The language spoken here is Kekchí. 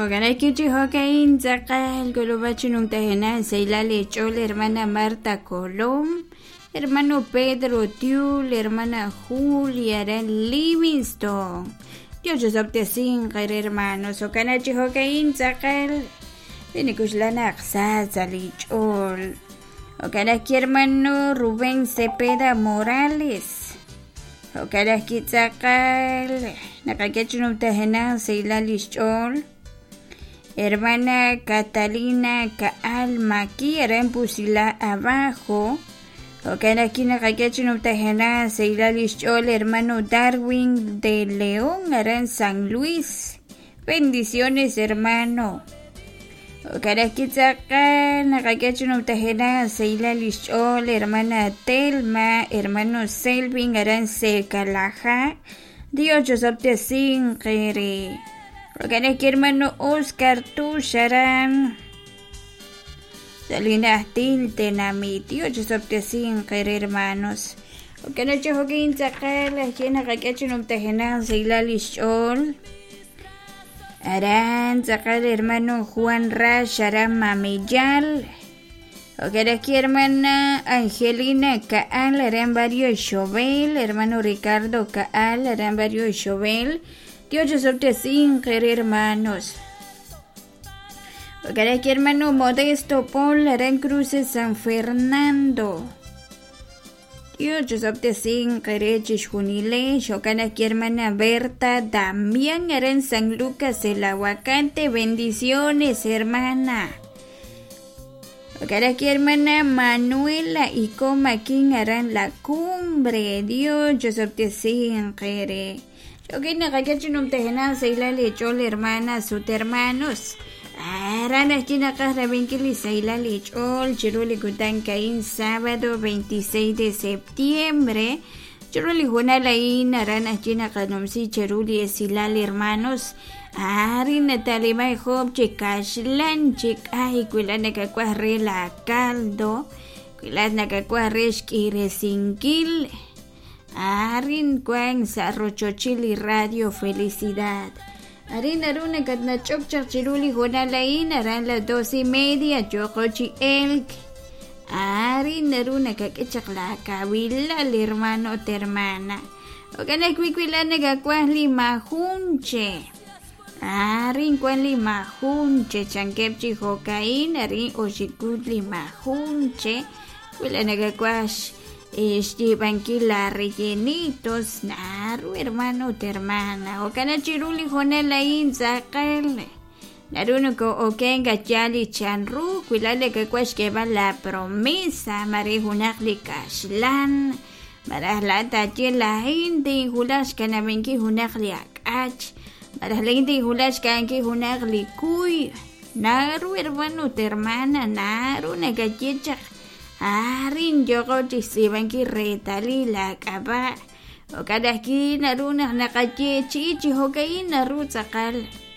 Jo'kan chi jo'ka'in tz'aqal k'ulub'aj chi numtajenaq sahilal eech'ool hermana Marta Colom, hermano Pedro Tiul, hermana Julia aran Livingston. Dios osob'tesinq eere hermanos. Jo'kan chi jo'ka'in tz'aqal nikuxlan naq sa sa' li ch'ool. Jo'kan ajwi' hermano Rubén Cepeda Morales. Jo'kan ajwi' tz'aqal naqak'e chi numtajenaq sahilal lix ch'ool. Hermana Catalina Kaal Maki aran Pusila Abajo. Jo'kan ajwi' naqak'e chi numtajenaq sahilal lix ch'ool hermano Darwin de León aran San Luis. Bendiciones, hermano. Jo'kan ajwi' tz'aqal naqak'e chi numtajenaq sahilal lix ch'ool hermana Telma, hermano Selvin aran Secalaja. Dios osob'tesinq eere. Jo'kan ajwi' hermano Oscar Tux aran sa' li najtil tenamit. Dios osob'tesinq eere, hermanos. Jo'kan chi jo'kin tz'aqal ajwi' naqak'e chi numtajenaq sahilal lix ch'ool. Aran tz'aqal hermano Juan Rax aran Mameyal. Jo'kan ajwi' hermana Angelina Kaal aran Barrio Xovel, hermano Ricardo Kaal aran Barrio Xovel. Dios osob'tesinq eere, hermanos. Jo'kan ajwi' hermano Modesto Paul aran Cruces San Fernando. Dios osob'tesinq eere chixjunilex. Jo'kan ajwi' hermana Berta Damián aran San Lucas el Aguacate. Bendiciones, hermana. Jo'kan ajwi' hermana Manuela y Comaquín aran La Cumbre. Dios osob'tesinq eere. Jo'kin naqak'e chi numtajenaq sahilal eech'ool hermanas ut hermanos. Aran ajwi' naqaj rab'inkil li sahilal eech'ool chiru li kutan ka'in sábado 26 de septiembre. Chiru li hoonal a'in aran ajwi' naqanumsi cheru li esilal hermanos. Arin nata'liman job chi kaxlan chi k'ay wi laa'at nakawaj re la caldo, wi laa'at nakawaj re xk'iresinkil. Arin wan sa' rochochil li Radio Felicidad. Arin naru nakatnach'ok chaq chiru li hoonal a'in aran las 2:30 yooqo chi elk. Arin naru nakak'e chaq la kawilal hermano ut hermana. Jo'kan ajwi' wi laa'at nakawaj li majunche. Arin wan li majunche chankeb' chi jo'ka'in arin oxikut li majunche. Wi laa'at nakawaj xyiib'ankil la rellenitos naru hermano ut hermana. Jo'kan chiru li hoonal a'in tz'aqal naru noko'oken yaal li chanru wi laa'at nakawaj xk'eeb'al la promesa mare junaq li kaxlan malaj laa'at taaye laa'in tinwulaj xkanab'inkil junaq li ak'ach malaj laa'in tinwulaj xka'ankil junaq li kuy. Naru hermano ut hermana naru nakaye chaq arin yooqo chi xtz'iib'ankil reetalil la k'ab'a'. Jo'kan ajwi' naru naq naqayeechi'i chi jo'ka'in naru tz'aqal.